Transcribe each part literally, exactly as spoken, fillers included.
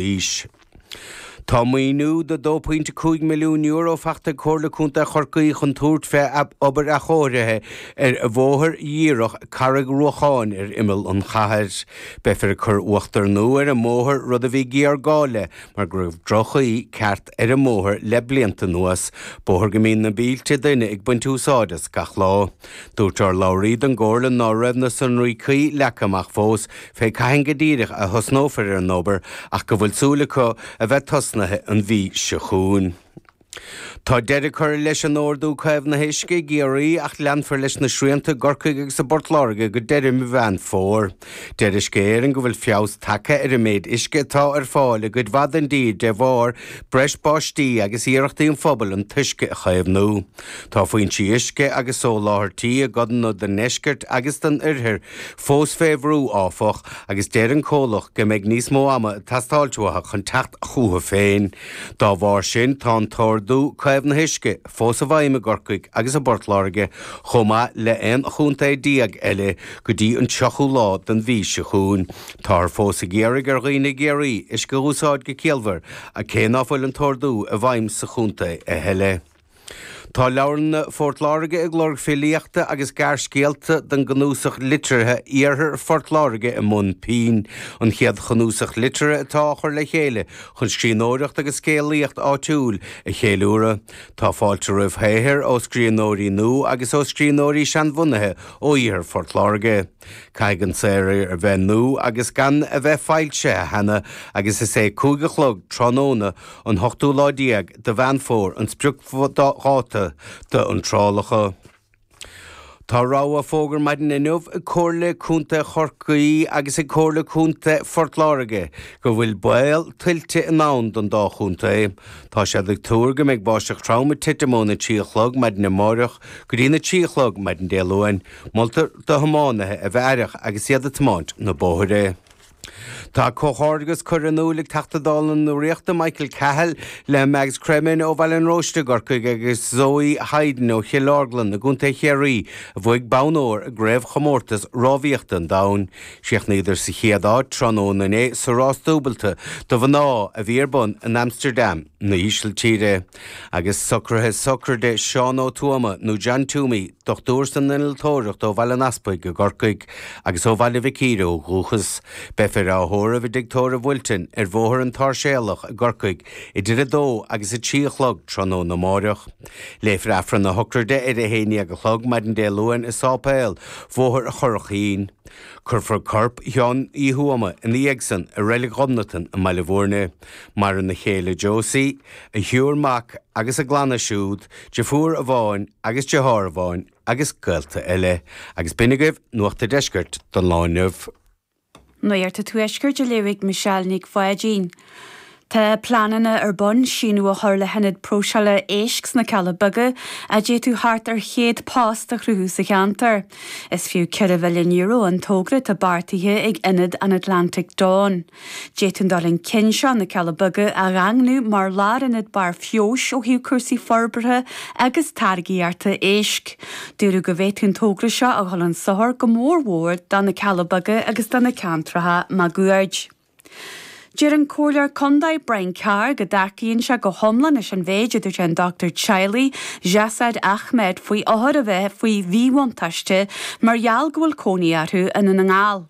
aois. Tá maoiniú de dó pointe cúig milliún euro faighte ag Comhairle Contae Chorcaí chun tabhairt fé obair athchóirithe ar bhóthar dhíreach Carraig Ruacháin ar imeall an chathair. Beifear ag cur uachtar nua ar an mbóthar, rud a bhí géarghá le mar go raibh droch-chaoi ceart ar an mbóthar le blianta anuas, bóthar go mbíonn na mílte duine ag baint úsáid as gach lá. Dúirt urlabhraí don gComhairle ná raibh na sonraí cuí leagtha amach fós fé cathain go díreach a thosnófar ar an obair ach go bhfuil súil acu a bheith tosnaithe an mhí seo chugainn. Tá deireadh curtha leis an Ordú Caomhnaithe Uisce i gCiarraí ach leanfar leis na srianta i gCorcaigh agus i bPort Láirge go deireadh mí Mheán Fómhair. Deir Uisce Éireann go bhfuil feabhas tagtha ar an méid uisce atá ar fáil i gcuid mhaith den dtír de bharr breis báistí agus iarrachtaí an phobail an t-uisce a chaomhnú. Tá foinsí uisce agus soláthairtí i gcodanna den ndeisceart agus den oirthear fós fé bhrú, áfach, agus deir an comhlacht go mbeidh níos mó ama ag teastáilt uathu chun teacht chucu féin. Dá bharr sin, tá an tOrdú Caomhnaithe Uisce fós i bhfeidhm i gCorcaigh agus i bPort Láirge, chomh maith le aon chontae déag eile, go dtí an tríochú lá den mhí seo chugainn. Táthar fós ag iarraidh ar dhaoine i gCiarraí uisce a úsáid go ciallmhar, cé ná fuil an t-ordú i bhfeidhm sa chontae a thuilleadh. Tá Leabharlanna Phort Láirge ag lorg filíochta agus gearrscéalta don gcnuasach liteartha Iarthar Phort Láirge i mbun pinn, an chéad chnuasach liteartha atá á chur le chéile chun scríbhneoireacht agus scéalaíocht áitiúil a cheiliúradh. Tá fáilte roimh shaothair ó scríbhneoirí nua agus ó scríbhneoirí seanbhunaithe ó Iarthar Phort Láirge. Caithfidh an saothar a bheith nua agus gan a bheith foilsithe cheana agus is é cúig a chlog tráthnóna an hochtú lá déag de Mheán Fómhair an spriocdháta d'iontrálacha. Tá rabhadh á fógairt maidin inniu ag Comhairle Contae Chorcaí agus ag Comhairle Contae Phort Láirge go bhfuil baol tuilte i ndán don dá chontae. Tá siad ag tuar go mbeidh báisteach trom ag titim óna trí a chlog maidin amáireach go dtí na trí a chlog maidin Dé Luain. Moltar do thiománaithe a bheith aireach agus iad ag tiomáint na bóithre. Tá comhghairdeas curtha in iúl ag Teachta Dála na Ríochta Michael Cahill le Mags Cremin ó Bhaile an Róiste i gCorcaigh agus Zoe Hayden ó Chill Orglan i gContae Chiarraí a bhuaigh bonn óir i gCraobhchomórtas Rámhaíochta an Domhain. Chríochnaíodar sa chéad áit tráthnóna inné sa rás dúbailte do mhná a bhí ar bun in Amsterdam na hÍsiltíre. Agus socruithe sochraide Seán Ó Tuama nó John Toomey, dochtúir san innealtóireacht ó Bhaile an Easpaig i gCorcaigh agus ó Bhaile Mhic Íre ó dhúchas. Beifear á thórramh i dTigh Tórraimh Wilton ar Bhóthar an tSáirséalach i gCorcaigh idir a dó agus a trí a chlog tráthnóna amáireach. Léifear Aifreann na sochraide ar a haon déag a chlog maidin Dé Luain i Sáipéal Bhóthar Churrach Chinn. Cuirfear corp Sheáin Uí Thuama ina dhiaidh san i Reilig Ghobnatan i mBaile Bhúirne. Maireann a chéile Josie, a thriúr mac agus a gclanna siúd, deirfiúr amháin agus deartháir amháin agus gaolta eile. Agus b'in agaibh Nuacht an Deiscirt don lá inniu. Nuacht an Tuaiscirt a léifidh Michelle Nic Pháidín. Tá pleananna ar bun síneadh a chur le hionad próiseála éisc sna Cealla Beaga a d'fhéadfadh thart ar chéad post a chruthú sa cheantar. Is fiú ceithre mhilliún euro an togra atá beartaithe ag Ionad an Atlantic Dawn. D'fhéadfadh an dul chun cinn seo na Cealla Beaga a dhaingniú mar lárionad barr feabhais ó thaobh cúrsaí forbartha agus táirgíochta éisc. Dúradh go bhféadfadh an togra seo a dhul chun sochair go mórmhór do na Cealla Beaga agus do na ceantracha máguaird. Deir an Comhairleoir Contae Brian Carr go dtacaíonn sé go hiomlán leis an mhéid a dúirt an dochtúir teaghlaigh Jasad Ahmed faoi othair a bheith faoi mhíbhuntáiste mar gheall go bhfuil cónaí orthu i nDún na nGall.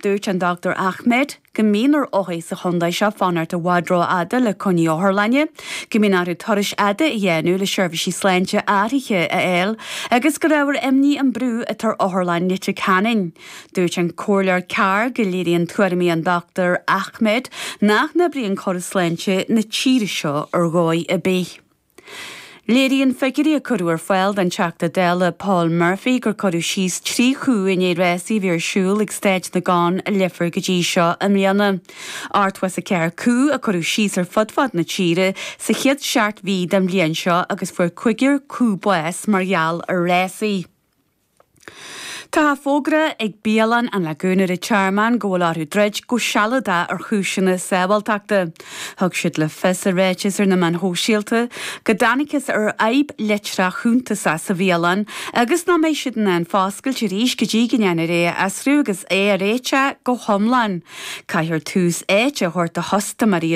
Dúirt an Dochtúir Ahmed go mbíonn ar othair sa chontae seo fanacht i bhfad rófhada le coinní otharlainne, go mbíonn orthu turais fhada a dhéanamh le seirbhísí sláinte áirithe a fháil agus gur ábhar imní an brú atá ar Otharlann Leitir Ceanainn. Dúirt an Comhairleoir Carr go léiríonn tuairimí an Dochtúir Ahmed nach n-oibríonn córas sláinte na tíre seo ar dhóigh ar bith. Léiríonn figiúirí a cuireadh ar fáil don Teachta Dála Paul Murphy gur cuireadh síos trí chú i ndiaidh rásaí a bhí ar siúl ag Staid na gCon i Leifear go dtí seo i mbliana. Ochtó is a ceathair cú a cuireadh síos ar fud fad na tíre sa chéad seacht mhí den bhliain seo agus fuair cúigear cú bás mar gheall ar rásaí. Tá fógra ag bialann an Lagún ar an Tearmann go bhfuil orthu druid go sealadach ar chúiseanna sábháilteachta. Thug siad le fios i ráiteas ar na meáin shóisialta go dtángthas ar fhadhb leictreach shuntasach sa bhialann agus nach mbeidh siad in ann foscailt arís go dtí go ndéanfar é a fhiosrú agus é a réiteach go hiomlán. Caithfear tús áite a thabhairt do chustaiméirí